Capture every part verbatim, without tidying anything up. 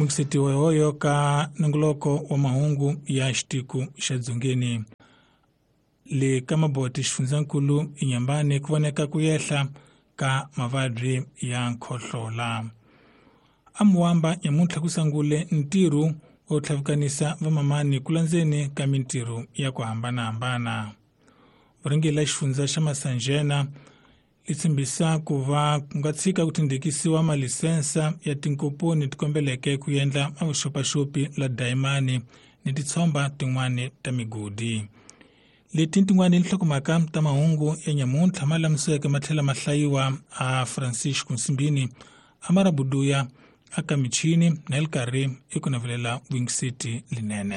Mukisetiwa hoyo ka nongoloko wa mahungu ya xitiko xa dzongeni. Le ka Maboti xifundzankulu Inhambane ku voneka ku yehla ka mavabyi ya nkhohlola. Amuwamba nyamuntlha ku sangule ntirho wo tlhavikanisa vamamani ku landzeni ka mintirho ya ku hambanahambana. Vurhangeri xifundza xa Masanjena li tshembisa ku va ku nga tshika ku tindekisiwa malisensa ya tinkomponi ti kombeleke ku endla mavuxopaxopi la dayimani ni titshomba tin'wani ta migodi. Leti tin'wani nhlokomhaka ta mahungu ya nyamuntlha ma lamiseke ma tlhela ma hlayiwa a Francisco Nsimbini Amara Buduya aka michini na elkarhi i ku navelela Wing City linene.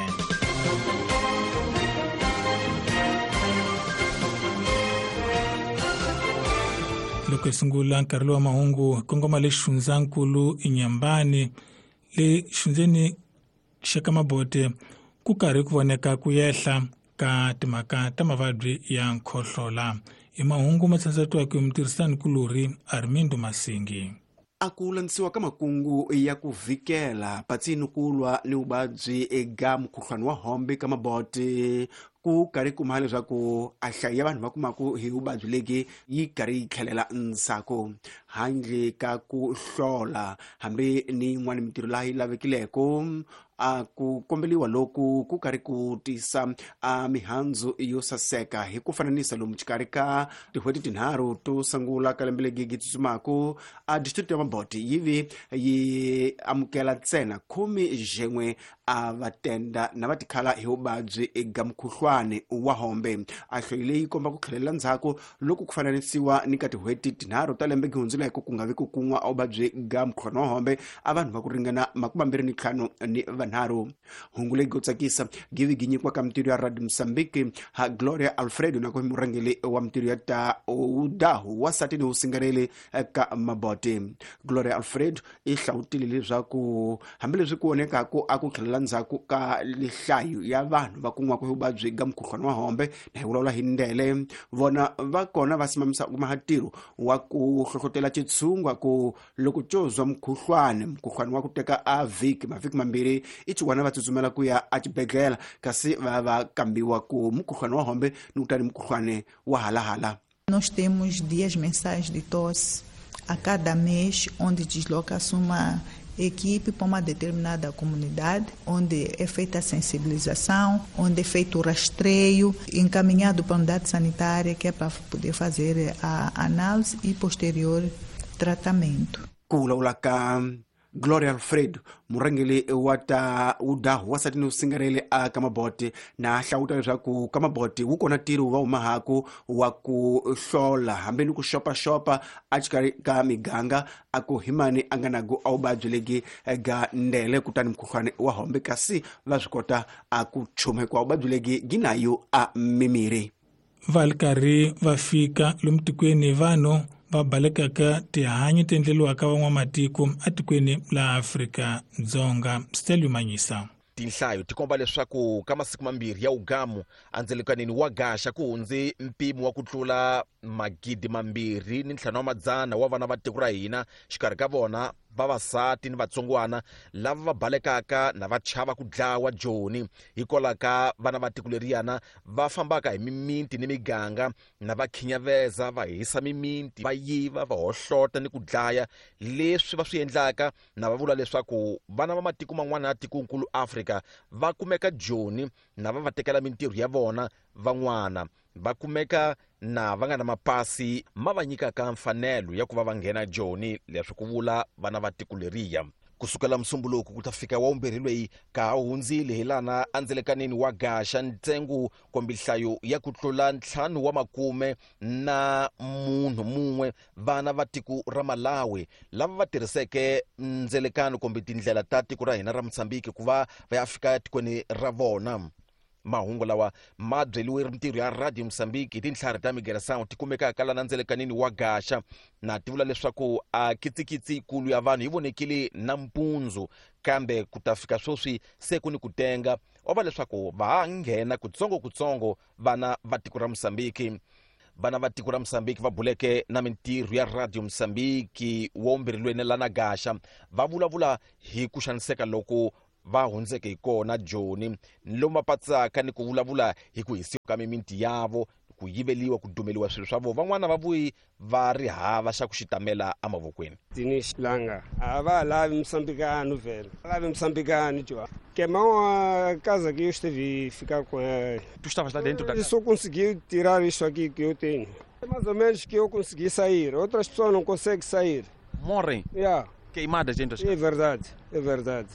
Loko hi sungula nkarhi lowa mahungu hi kongoma le xifundzankulu Inhambane le xifundzeni xa ka Mabote ku karhi ku voneka ku yehla ka timhaka ta mavabyi ya nkhohlola. Hi mahungu ma tsandzatiwaka hi mutirhisani-kulorhi Armindo Masingi. A ku landzisiwa ka makungu ya ku vhikela patsini ku lwa ni vuvabyi eka mukhuhlwani wa hombe ka Mabote ku karhi kuma leswaku a hlayo ya vanhu va kumaku hi vuvabyi legi yi karhi yi tlhelela ndzhaku handle ka ku hlola hambi ni yin'wana mintirho laha yi lavekileko. A ku kombeliwa loku ku karhi ku tisa a mihandzu yo saseka hi ku fananisa lomu xikarhi ka tin'hweti tinharhu to sungula ka lembe legi gi tsutsumaku a district ya Mabote yi vi yi amukela ntsena khume xin'we a va tenda na va tikhala hi vuvabyi eka mukhuhlwani wa hombe. A hloyi leyi komba ku tlhelela ndzhaku loko ku fananisiwa ni ka tin'hweti tinharhu ta lembe gi hundzuleke ku nga vi ku kun'wa a vuvabyi ga mukhuhlwani wa hombe a vanhu va ku ringana makume mambirhi ni ntlhanu ni vanharhu. Hungu leyi go tsakisa givi gi nyikiwa ka mintirho ya Radio Mozambique ha Gloria Alfredo na ku murhangeri wa mintirho ya ta udahu wasati ni usingareli ka Mabote. Gloria Alfredo i hlawutile leswaku hambileswi ku vonekaku a ku tlhelela ndzhaku ka lihlayo ya vanhu va kun'waka hi vuvabyi ga mukhuhlwani wa hombe na hi vulavula hi ndele vona va kona va simamisa kuma ntirho wa ku hlohlotela xitshungwa ku loko xo zwa mukhuhlwani mukhuhlwani wa ku teka a vhiki mavhiki mambirhi i xiwana va tsutsumela ku ya exibedhlele kasi va va kambiwa ku mukhuhlwani wa hombe ni kutani mukhuhlwani wa halahala. Nós temos dias mensais de tosse a cada mês, onde desloca-se uma equipe para uma determinada comunidade, onde é feita a sensibilização, onde é feito o rastreio, encaminhado para a unidade sanitária, que é para poder fazer a análise e posterior tratamento. Ku vulavula ka Gloria Alfredo murhangeri wa ta udahu wasati ni usingareli a ka Mabote na hlawuta leswaku ka Mabote wu kona ntirho va humahaku wa ku hlola hambi ni ku xopaxopa a xikarhi ka miganga a ku himani a nga naku a vuvabyi legi ga ndele kutani mukhuhlwani wa hombe kasi va swi kota a ku chuma hikuva vuvabyi legi gi nayo a mimiri. Va li karhi va fika lomu tikweni vanhu va balekaka tihanyi ti endleriwaka van'wamatiko etikweni la Afrika-Dzonga. Stelio Manyisa. Tinhlayo ti komba leswaku ka masiku mambirhi ya ugamu andzelekanini wa gaxa ku hundze mpimo wa ku tlula magidi mambirhi ni ntlhanu wa madzana wa vana va tiko ra hina xikarhi ka vona vavasati ni vatsongwana lava va balekaka na va chava ku dlawa joni hikwalaho ka vana va tiko leriyana va fambaka hi miminti ni miganga na va khinyaveza va hisa miminti va yiva va hohlota ni ku dlaya leswi va swi endlaka na va vula leswaku vana va matiko man'wana ya tikonkulu Afrika va kumeka joni na va va tekela mintirho ya vona van'wana va kumeka na va nga na mapasi ma va nyikaka mfanelo ya ku va va nghena joni leswi ku vula vana va tiko leriya. Kusukela musumbuluko ku ta fika wa vumbirhi lweyi ka ha hundzile hi lana andzelekanini wa gaxa ntsengo kumbe nhlayo ya ku tlula ntlhanu wa makume na munhu mun'we vana va tiko ra Malawi lava va tirhiseke ndzelekano kumbe tindlela ta tiko ra hina ra Mozambique ku va va ya fika tikweni ra vona. Mahungu lawa ma byeliwe mintirho ya Radio Mozambique hi tintlhari ta Migeração ti kumekaka lana ndzelekanini wa gaxa na ti vula leswaku a kitsikitsi yikulu ya vanhu yi vonekile nampundzu kambe ku ta fika sweswi se ku ni ku tenga wa va leswaku va ha nghena kutsongokutsongo vana va tiko ra Mozambique. Vana va tiko ra Mozambique va buleke na mintirho ya Radio Mozambique wa umbirhi lana Gaxa va vulavula hi ku xaniseka loko va hundzeke hi kona Joni lomu va patsaka ni ku vulavula hi ku hisiwa ka mimiti yavo, ku yiveliwa, ku dumeliwa swilo swa vona. Van'wana va vuyi va ri hava xa ku xitamela emavokweni. Dinis Langa a va lavi moçambicano velho, lavi moçambicano tio. Queimou a casa que eu estive ficar com ela. Tu estavas lá dentro da casa? Eu só consegui tirar isso aqui que eu tenho. É mais ou menos que eu consegui sair, outras pessoas não conseguem sair. Morrem? Yeah. Queimadas dentro das É verdade, é verdade.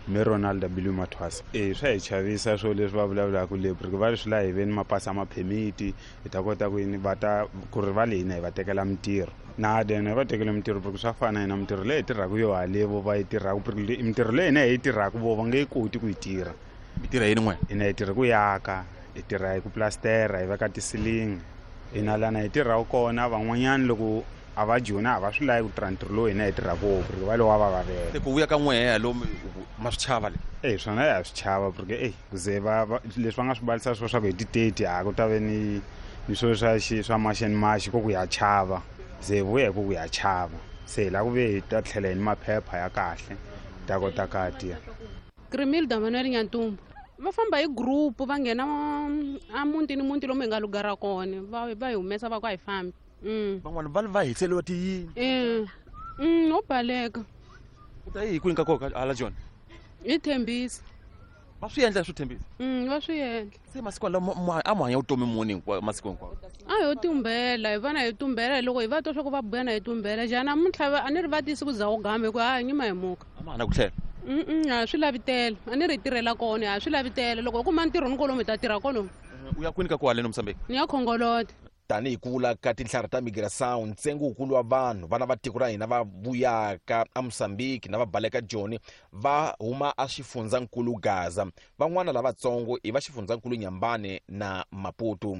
Me Ronald W Mathwasa e swa hi chavisa swo leswi va vulavulaka le porque va swi la hi veni mapasi ma permit hi ta kota ku yini va ta ku ri va le hina hi va tekela mintirho na then va tekela mintirho porque swa fana hina mintirho leyi hi tirhaka yo halevo va yi tirhaka porque mintirho leyi hina hi yi tirhaka vo va nge yi koti ku yi tirha. Mi tirha yini n'we? Hina hi tirha ku yaka, hi tirha hi ku plastera, hi veka tisilingi, hina lana hi tirhaka kona van'wanyana loko a va jona a va swi lavi ku tirha ntirho lowu hina hi tirhaka wona porque va lowa va vavela. Se ku vuya ka n'wehe lomu ma swi chava le? E swona ya swi chava porque e ku ze va leswi va nga swi balisa swo swa ku hi ti-thirty a ku ta ve ni ni swo swa xi swa maxeni maxi ko ku ya chava ze hi vuya hi ku ku ya chava se hi lava ku ve hi ta tlhela hi ni maphepha ya kahle hi ta kota ka tiya. Grimilda Manuel Nyantumbu va famba hi group va nghena a mutini muti lomu hi nga lugara kona va va hi humesa va ku a hi fambi. Mm. Van'wana va va hiseliwa tiyini. Eh. Mm, no baleka. U ta yi hi kwini ka koka hala Joni? Hi Thembisa. Va swi endla swo Thembisa? Mm, va swi endla. Se masiku lawa a mu hanya vutomi muni hinkwawo masiku hinkwawo? A ho tumbela, hi vana hi tumbela loko hi va twa swa ku va buya na hi tumbela. Jana namuntlha a ni ri va tisi ku za u gambe ku ha nyima hi muka. A ma hana ku tlhela. Mm, a swi lavitele. A ni ri tirhela kona, a swi lavitele. Loko u kuma ntirho ni kolomu hi ta tirha kolomu. U ya kwini ka ku haleni Mozambique? Ni ya Khongoloti. Tanihi ku vula ka tinhlari ta migração ntsengo wukulu wa vanhu vana va tiko ra hina va vuyaka eMozambique na va baleka Joni va huma a xifundzankulu Gaza, van'wana lavatsongo i va xifundzankulu Nyambane na Maputo.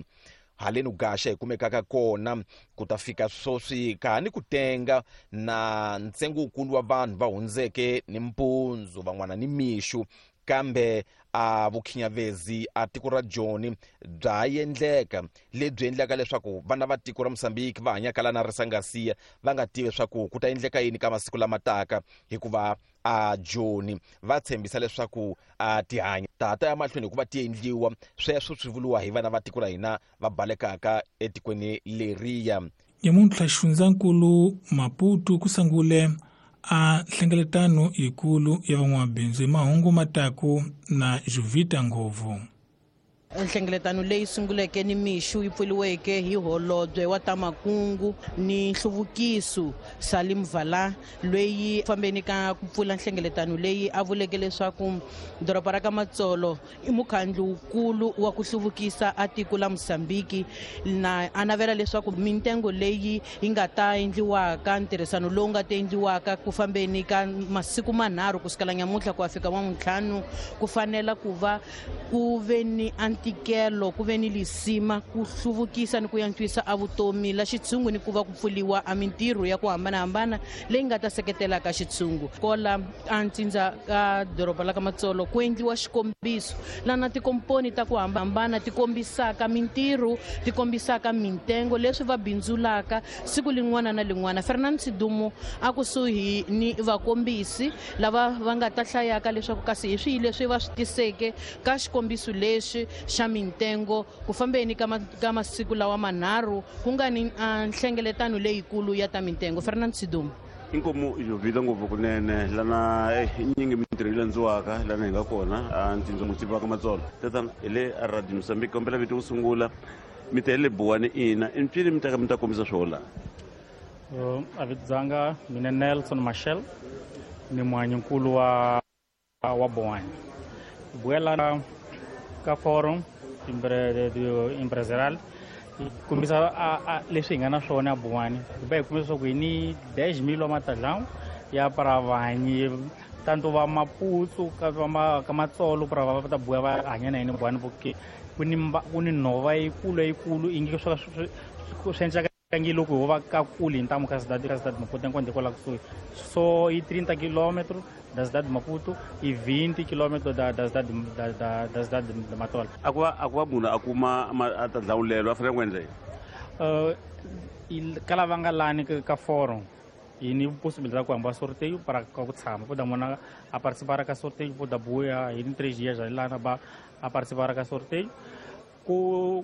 Haleni Gaxa hi kumekaka kona ku ta fika sweswi ka ha ni ku tenga na ntsengo wukulu wa vanhu va hundzeke ni mpundzu van'wana ni mixo, kambe a vukhinyavezi a tiko ra Joni bya endleka lebyi endlaka leswaku vana va tiko ra Mozambique va hanyaka lana Risangasiya va nga tivi leswaku ku ta endleka yini ka masiku lama taka, hikuva a Joni va tshembisa leswaku a tihanya tata ya mahlweni hikuva ti endliwa. Sweswo swi vuriwa hi vana va tiko ra hina va balekaka etikweni leriya. Nyamuntlha xifundzankulu Maputo ku sungule a nhlengeletano yikulu ya van'wamabindzu hi mahungu mataku na Juvita Ngovu. Nhlengeletano leyi sunguleke ni mixo yi pfuriweke hi holobye wa ta makungu ni nhluvukiso Salim Vala loyi fambeni ka ku pfula nhlengeletano leyi a vuleke leswaku doroba ra ka Matsolo i mukhandlu wukulu wa ku hluvukisa a tiko la Mozambique na a navela leswaku mintengo leyi yi nga ta endliwaka ntirhisano lowu nga ta endliwaka ku fambeni ka masiku manharhu ku sukela nyamuntlha ku ya fika n'wantlhanu ku fanela ku va ku ve ni ntikelo ku ve ni lisima ku hluvukisa ni ku antswisa a vutomi la xitshungu ni ku va ku pfuriwa a mintirho ya ku hambanahambana leyi nga ta seketelaka xitshungu. Kola a ntsindza ka doroba la ka Matsolo ku endliwa xikombiso lana tikomponi ta ku hambana ti kombisaka mintirho ti kombisaka mintengo leswi va bindzulaka siku lin'wana na lin'wana. Fernand Sidumo a kusuhi ni vakombisi lava va nga ta hlayaka leswaku kasi hi swihi leswi va swi tiseke ka xikombiso lexi xa mintengo ku fambeni ka ka masiku lawa manharhu ku nga ni nhlengeletano leyikulu ya ta mintengo. Fernand Sidumo. Inkomu Jovita ngopfu kunene lana nyingi mintirho yi landziwaka lana hi nga kona a ntsindza mutsiva ka Matsolo. Tatana hi le a Radio Mozambique kombela vito ku sungula mi ta le Buwani ina i mpfini mi ta ka mi ta kombisa swo la. A vito dzanga mina Nelson Machel ni muhanyinkulu wa wa Buwani. Buela ka forum empresarial kombisa leswi hi nga na swona Buwani va hi kombisa leswaku hi ni dez mil wa matadlão ya para vanyi tanto va Maputo ka va ka Matsolo para va ta buya va hanya na hina Buwani porque ku ni ku ni nhova yikulu yikulu ingi swa swi endlaka ngi loko ho va ka kule hi ntamu ka cidade ka cidade Maputo enquanto kwala kusuhi so i trinta quilômetros da cidade de Maputo e vinte quilômetros da da cidade da da da cidade de Matola. A ku va a ku va munhu a kuma a ta dlawulelo a fanele ku endla yini? Uh, ka lava nga lani ka forum hi ni possibilidade ku hamba sorteio para ka ku tshama poda mona a participar ka sorteio poda buia hi ni três dias lana ba a participar ka sorteio ku